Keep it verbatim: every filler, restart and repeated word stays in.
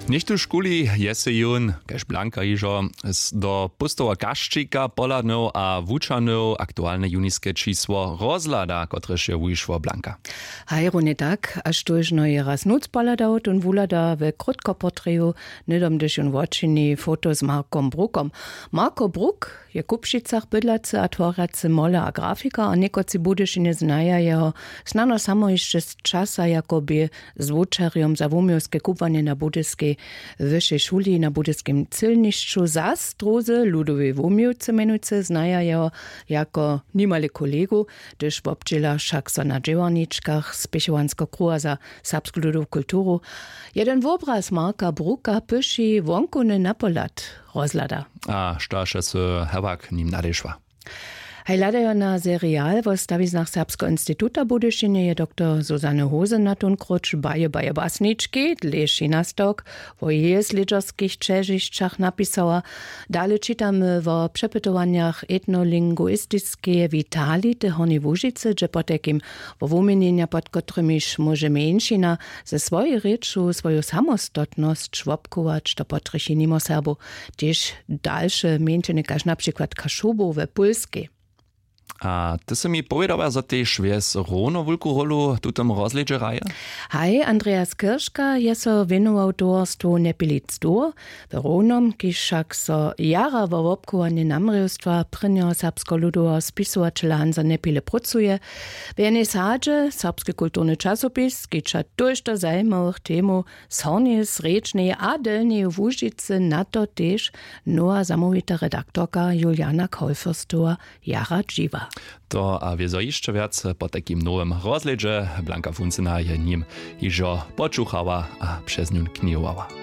Něchtóžkuli je sej jón kaž blanka hižo do póstowa kašćika pohladnył a wučanył aktualne juniske čisło rozhlada, kotrež je wušło blanka. Haj runje tak, a štóžno je raz nóc pohladał tón wuhlada we krótkoportreju, hnydom hdyž jón wočini foto z markom brukom. Marko bruk je w kupšicach bydlacy a tworjacy moler a grafikar a někotři w budyšinje znaja jeho snano samo hišće z časa jako bě zwučerjom za wuměłske kubłanje na budyskej wyšej šuli na budyskim cylnišću zas druzy ludowej wuměłcy mjenujcy znaja jeho jako nimale kolegu, hdyž wobdźěla wšak so na dźěłarničkach spěchowanskeho kruha za serbsku ludowu kulturu. Jeden wobraz marka bruka pyši wonkowny napohlad rozhlada. A štož je sy hewak nim nadešła? Haj hladajo na serial wo stawiznach serbskeho instituta w budyšinje je doktor susanne hosen na tón króć baje baje basnički dlěši nastawk wo jeje slědźerskich ćežišćach napisała. Dale čitamy wo přepytowanjach etnolinguistiskeje witality hornjej łužicy hdźe potajkim wo wuměnjenja pod kotrymiž móže mjeńšina ze swojej rěču swoju samostotnosć wobchować to potrjechi nimo serbow tež dalše mjeńšiny kaž na přikład kašobow we pólskej. A ty sy mi powědała zo tež wjes hrono wulku rólu w tutym rozhlědźe hraje? Haj andreas kirška je so wěnował towarstwu nepilic dwór w hronom kiž wšak so jara wo wobchowanje namrěwstwa prěnjeho serbskeho ludoweho spisowaćela hansa nepile prócuje. W jenej sadźe serbski kulturny časopis skića tójšto zajimawych temow z hornjeje srjedźneje a delnjeje łužicy na to tež nowa zamołwita redaktorka juliana kaulfürstowa jara dźiwa. To a wězo hišće wjac po takim nowym rozhlědźe blanka funcena je nim hižo počuchała a přez njón knihowała.